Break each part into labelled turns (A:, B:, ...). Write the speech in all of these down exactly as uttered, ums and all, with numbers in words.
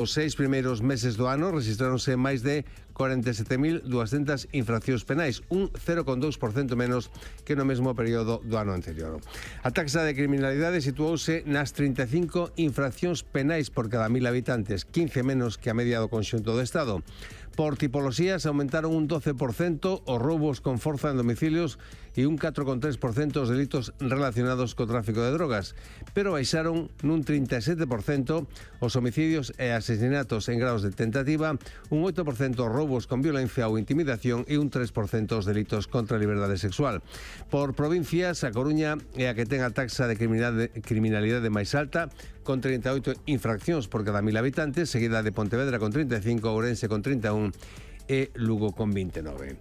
A: Os seis primeiros meses do ano rexistráronse máis de cuarenta e sete mil duascentas infraccións penais, un cero coma dous por cento menos que no mesmo período do ano anterior. A taxa de criminalidade situouse nas trinta e cinco infraccións penais por cada mil habitantes, quince menos que a media do conxunto do Estado. Por tipoloxías aumentaron un doce por cento os roubos con forza en domicilios e un catro coma tres por cento os delitos relacionados co tráfico de drogas, pero baixaron nun trinta e sete por cento os homicidios e asesinatos en graos de tentativa, un oito por cento os roubos con violencia ou intimidación e un tres por cento os delitos contra a liberdade sexual. Por provincias, a Coruña é a que ten a taxa de criminalidade, criminalidade máis alta, con trinta e oito infraccións por cada mil habitantes, seguida de Pontevedra con trinta e cinco, Ourense con trinta e un e Lugo con vinte e nove.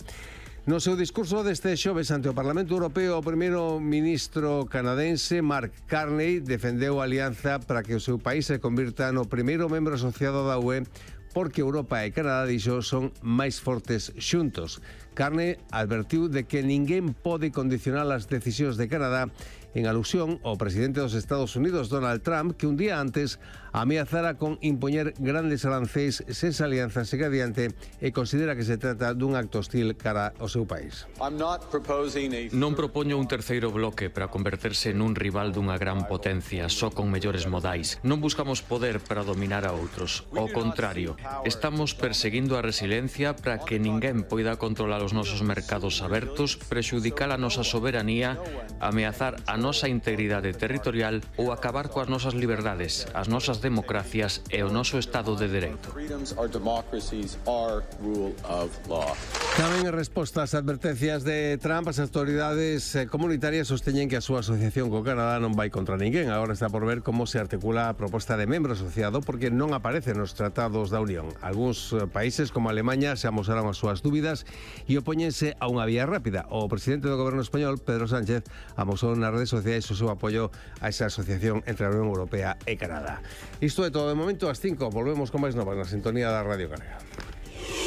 A: No seu discurso deste xoves ante o Parlamento Europeo, o primeiro ministro canadense Mark Carney defendeu a alianza para que o seu país se convirta no primeiro membro asociado da U E, porque Europa e Canadá, dixo, son máis fortes xuntos. Carney advertiu de que ninguén pode condicionar as decisións de Canadá, en alusión ao presidente dos Estados Unidos, Donald Trump, que un día antes ameazara con impoñer grandes arancéis se esa alianza segue adiante e considera que se trata dun acto hostil cara ao seu país.
B: Non propoño un terceiro bloque para converterse nun rival dunha gran potencia, só con mellores modais. Non buscamos poder para dominar a outros. Ao contrario, estamos perseguindo a resiliencia para que ninguén poida controlar os nosos mercados abertos, prexudicar a nosa soberanía, ameazar a nosa integridade territorial ou acabar coas nosas liberdades, as nosas democracias e o noso Estado de Dereito.
A: Tamén en resposta ás advertencias de Trump, as autoridades comunitarias sosteñen que a súa asociación co Canadá non vai contra ninguén. Agora está por ver como se articula a proposta de membro asociado, porque non aparece nos tratados da Unión. Algúns países, como Alemanha, se amosaron as súas dúbidas e opóñense a unha vía rápida. O presidente do goberno español, Pedro Sánchez, amosou nas redes sociais o seu apoio a esa asociación entre a Unión Europea e Canadá. Isto é todo de momento. Ás cinco volvemos con máis novas na sintonía da Radio Galega.